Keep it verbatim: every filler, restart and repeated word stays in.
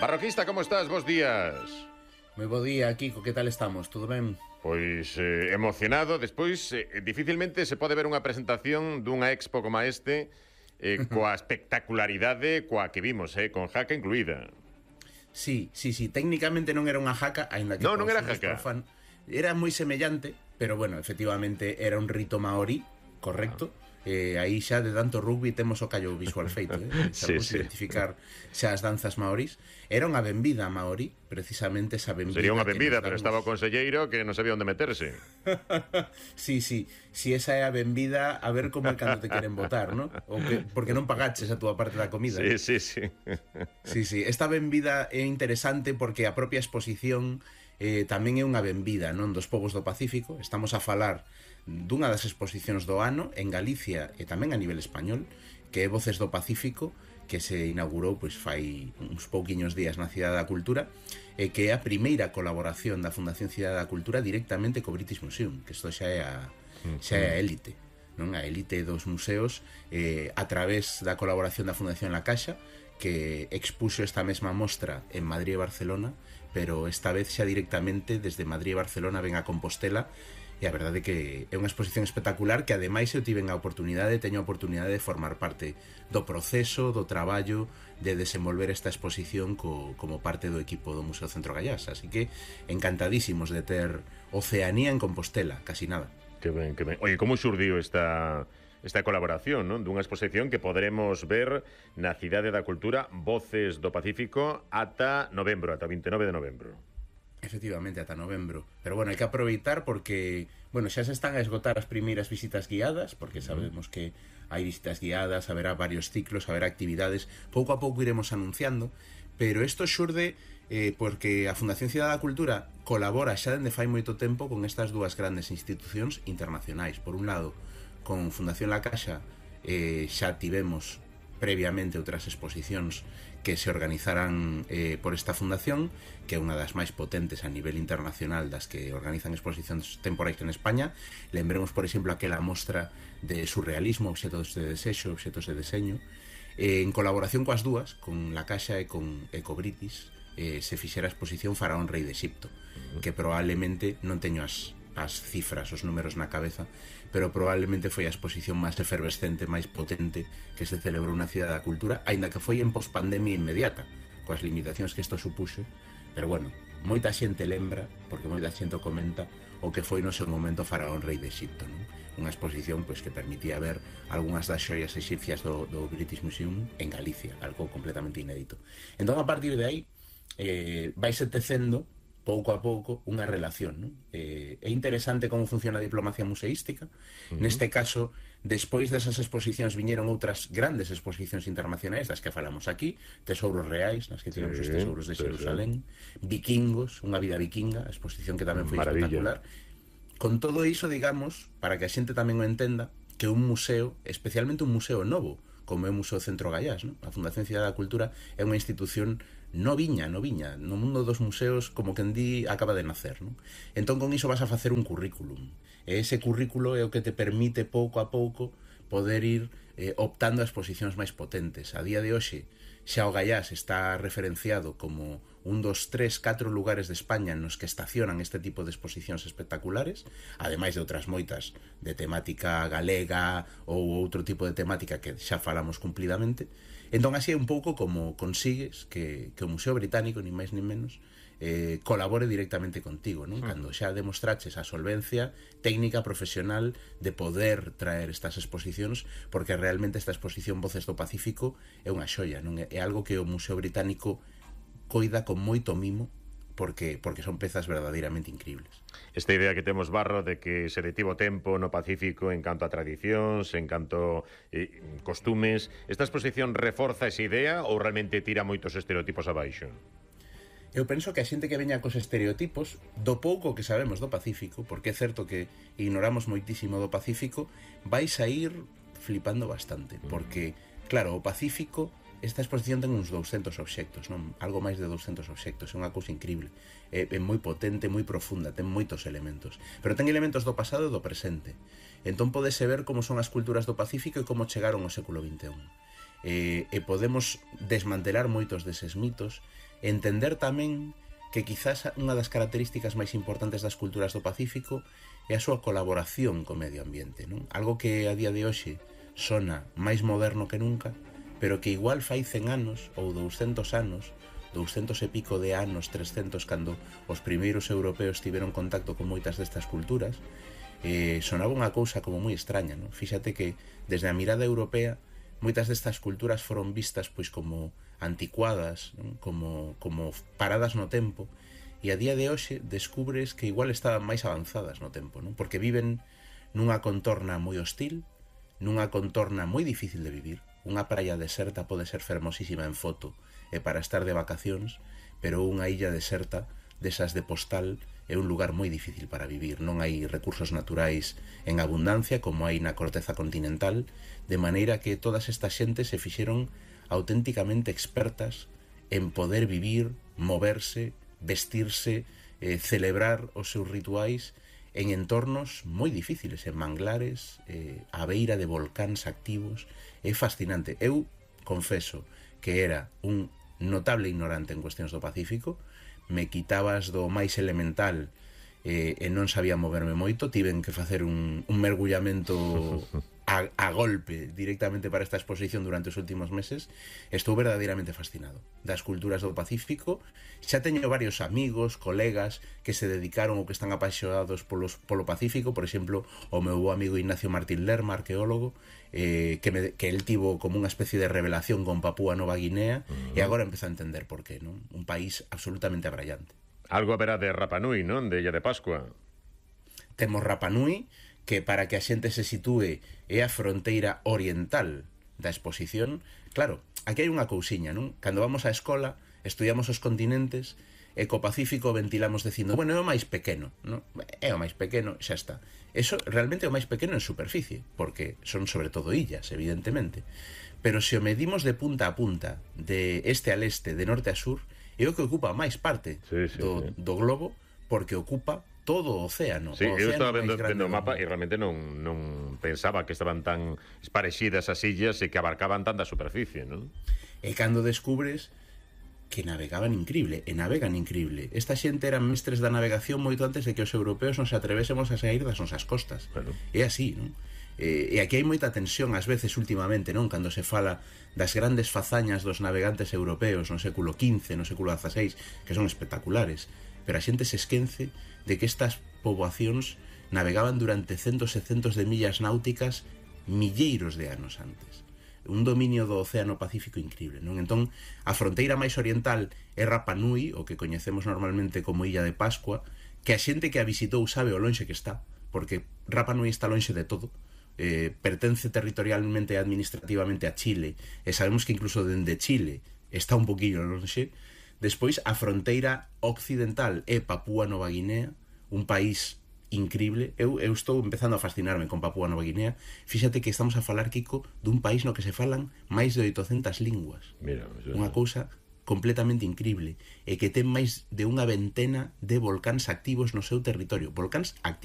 Barroquista, como estás? Bos días. Moi bo día, Kiko, que tal estamos? Todo ben? Pois eh, emocionado. Despois, eh, dificilmente se pode ver unha presentación dunha expo como este eh, coa espectacularidade coa que vimos, eh, con jaca incluída. Sí, sí, sí, técnicamente non era unha jaca, aínda que No, non era para os jaca. profan era moi semellante, pero bueno, efectivamente era un rito maorí, correcto. Ah. Eh, aí xa de tanto rugby temos o callo visual feito, eh? Sabemos Sí, sí. identificar xa as danzas maorís. Era unha benvida maorí, precisamente esa benvida. Sería unha benvida, damos... pero estaba o conselleiro que non sabía onde meterse. Sí, sí, si esa é a benvida, a ver como é cando te queren votar, ¿no? O que, porque non pagaches a túa parte da comida. Sí, sí, sí. Sí, sí, esta benvida é interesante porque a propia exposición eh, tamén é unha benvida, non, dos povos do Pacífico. Estamos a falar dunha das exposicións do ano en Galicia e tamén a nivel español, que é Voces do Pacífico, que se inaugurou pois fai uns pouquiños días na Cidade da Cultura, e que é a primeira colaboración da Fundación Cidade da Cultura directamente co British Museum, que isto xa é a, xa é a élite, non? A élite dos museos, eh, a través da colaboración da Fundación La Caixa, que expuxo esta mesma mostra en Madrid e Barcelona, pero esta vez xa directamente desde Madrid e Barcelona ven a Compostela. E a verdade é que é unha exposición espectacular que ademais eu tiven a oportunidade, teño a oportunidade de formar parte do proceso, do traballo de desenvolver esta exposición co, como parte do equipo do Museo Centro Gallás, así que encantadísimos de ter Oceanía en Compostela, casi nada. Que ben, que ben. Oye, como xurdiu esta esta colaboración, non? Dunha exposición que poderemos ver na Cidade da Cultura, Voces do Pacífico, ata novembro, ata vinte e nove de novembro. Efectivamente, ata novembro. Pero bueno, hai que aproveitar porque, bueno, xa se están a esgotar as primeiras visitas guiadas, porque sabemos que hai visitas guiadas, haberá varios ciclos, haberá actividades, pouco a pouco iremos anunciando, pero isto xurde eh, porque a Fundación Cidade da Cultura colabora xa dende fai moito tempo con estas dúas grandes institucións internacionais. Por un lado, con Fundación La Caixa eh, xa tivemos previamente outras exposicións que se organizaran eh, por esta fundación, que é unha das máis potentes a nivel internacional das que organizan exposicións temporais en España. Lembremos, por exemplo, aquela mostra de surrealismo, obxetos de desexo, obxetos de deseño. Eh, en colaboración coas dúas, con La Caixa e con Ecobritis, eh, se fixera a exposición Faraón Rei de Egipto, que probablemente non teño as as cifras, os números na cabeza, pero probablemente foi a exposición máis efervescente, máis potente que se celebrou na Cidade da Cultura, aínda que foi en pospandemia inmediata, coas limitacións que isto supuxo, pero bueno, moita xente lembra, porque moita xente o comenta, o que foi no seu momento Faraón Rei de Egipto, non? Unha exposición pois, que permitía ver algunhas das xoias exipcias do, do British Museum en Galicia, algo completamente inédito. Entón, a partir de aí, eh, vaise tecendo pouco a pouco unha relación, non? Eh, é interesante como funciona a diplomacia museística. Uh-huh. Neste caso, despois desas exposicións viñeron outras grandes exposicións internacionais das que falamos aquí, Tesouros Reais, nas que tivemos sí, os tesouros de Xerusalén, sí. Vikingos, unha vida vikinga, a exposición que tamén foi Maravilla. Espectacular. Con todo iso, digamos, para que a xente tamén o entenda, que un museo, especialmente un museo novo, como é o Museo Centro Gallás, non? A Fundación Cidade da Cultura é unha institución noviña, noviña, no mundo dos museos, como quen di, acaba de nacer, non? Entón, con iso vas a facer un currículum. E ese currículo é o que te permite pouco a pouco poder ir eh, optando a exposicións máis potentes. A día de hoxe, xa o Gallás está referenciado como un dos tres, catro lugares de España nos que estacionan este tipo de exposicións espectaculares, ademais de outras moitas de temática galega ou outro tipo de temática que xa falamos cumplidamente. Entón, así é un pouco como consigues que, que o Museo Británico, ni máis ni menos, eh, colabore directamente contigo, non? Cando xa demostraches a solvencia técnica, profesional de poder traer estas exposicións, porque realmente esta exposición Voces do Pacífico é unha xoia, non? É algo que o Museo Británico coida con moito mimo, porque porque son pezas verdadeiramente increíbles. Esta idea que temos, Barro, de que se detivo tempo no Pacífico en canto a tradicións, en canto eh, costumes, esta exposición reforza esa idea ou realmente tira moitos estereotipos abaixo? Eu penso que a xente que veña cos estereotipos do pouco que sabemos do Pacífico, porque é certo que ignoramos moitísimo do Pacífico, vais a ir flipando bastante, porque, claro, o Pacífico, esta exposición ten uns douscentos obxectos, non? Algo máis de douscentos obxectos, é unha cousa increíble. É, é moi potente, moi profunda, ten moitos elementos. Pero ten elementos do pasado e do presente. Entón podese ver como son as culturas do Pacífico e como chegaron ao século vinte e un. eh, e podemos desmantelar moitos deses mitos, entender tamén que quizás unha das características máis importantes das culturas do Pacífico é a súa colaboración co medio ambiente, non? Algo que a día de hoxe sona máis moderno que nunca, pero que igual fai cen anos ou douscentos anos, douscentos e pico de anos, trescentos, cando os primeiros europeos tiveron contacto con moitas destas culturas, eh, sonaba unha cousa como moi extraña, non? Fíxate que desde a mirada europea moitas destas culturas foron vistas pois como anticuadas, non? Como, como paradas no tempo, e a día de hoxe descubres que igual estaban máis avanzadas no tempo, non? Porque viven nunha contorna moi hostil, nunha contorna moi difícil de vivir. Unha praia deserta pode ser fermosísima en foto e para estar de vacacións, pero unha illa deserta desas de postal é un lugar moi difícil para vivir. Non hai recursos naturais en abundancia como hai na corteza continental, de maneira que todas estas xentes se fixeron auténticamente expertas en poder vivir, moverse, vestirse, eh, celebrar os seus rituais en entornos moi difíciles, en manglares, eh, a beira de volcáns activos. É fascinante. Eu confeso que era un notable ignorante en cuestións do Pacífico, me quitabas do máis elemental eh, e non sabía moverme moito, tiven que facer un, un mergullamento a, a golpe directamente para esta exposición durante os últimos meses. Estou verdadeiramente fascinado das culturas do Pacífico. Xa teño varios amigos, colegas que se dedicaron ou que están apaixonados polos, polo Pacífico. Por exemplo, o meu bo amigo Ignacio Martín Lerma, arqueólogo, eh, que, me, que el tivo como unha especie de revelación con Papúa Nova Guinea, uh-huh. E agora empeza a entender por qué, non? Un país absolutamente abrallante. Algo haberá de Rapa Nui, non? De Illa de Pascua. Temos Rapa Nui, que para que a xente se sitúe é a fronteira oriental da exposición. Claro, aquí hai unha cousiña, non? Cando vamos á escola, estudiamos os continentes, e co Pacífico ventilamos dicindo, bueno, é o máis pequeno, non? É o máis pequeno, xa está. Eso realmente é o máis pequeno en superficie, porque son sobre todo illas, evidentemente. Pero se o medimos de punta a punta, de este a leste, de norte a sur, é o que ocupa máis parte sí, sí, do, sí. do globo, porque ocupa todo o océano. Sí, o eu océano estaba vendo, vendo o mapa mundo. e realmente non, non pensaba que estaban tan esparexidas as illas e que abarcaban tanta superficie, non? E cando descubres que navegaban increíble, e navegan increíble. Esta xente eran mestres da navegación moito antes de que os europeos nos atrevésemos a sair das nosas costas. Bueno. É así, non? E, e aquí hai moita tensión ás veces últimamente, non? Cando se fala das grandes fazañas dos navegantes europeos no século quince, no século dieciséis, que son espectaculares, pero a xente se esquence de que estas poboacións navegaban durante centos e centos de millas náuticas milleiros de anos antes. Un dominio do Océano Pacífico increíble, non? Entón, a fronteira máis oriental é Rapa Nui, o que coñecemos normalmente como Illa de Pascua, que a xente que a visitou sabe o lonxe que está, porque Rapa Nui está lonxe de todo, eh, pertence territorialmente e administrativamente a Chile, e sabemos que incluso dende Chile está un poquillo lonxe. Despois, a fronteira occidental é Papúa Nova Guinea, un país increíble. Eu, eu estou empezando a fascinarme con Papúa Nova Guinea. Fíxate que estamos a falar, Kiko, dun país no que se falan máis de oitocentas linguas. Mira, unha cousa completamente increíble, e que ten máis de unha ventena de volcáns activos no seu territorio. Volcáns activos.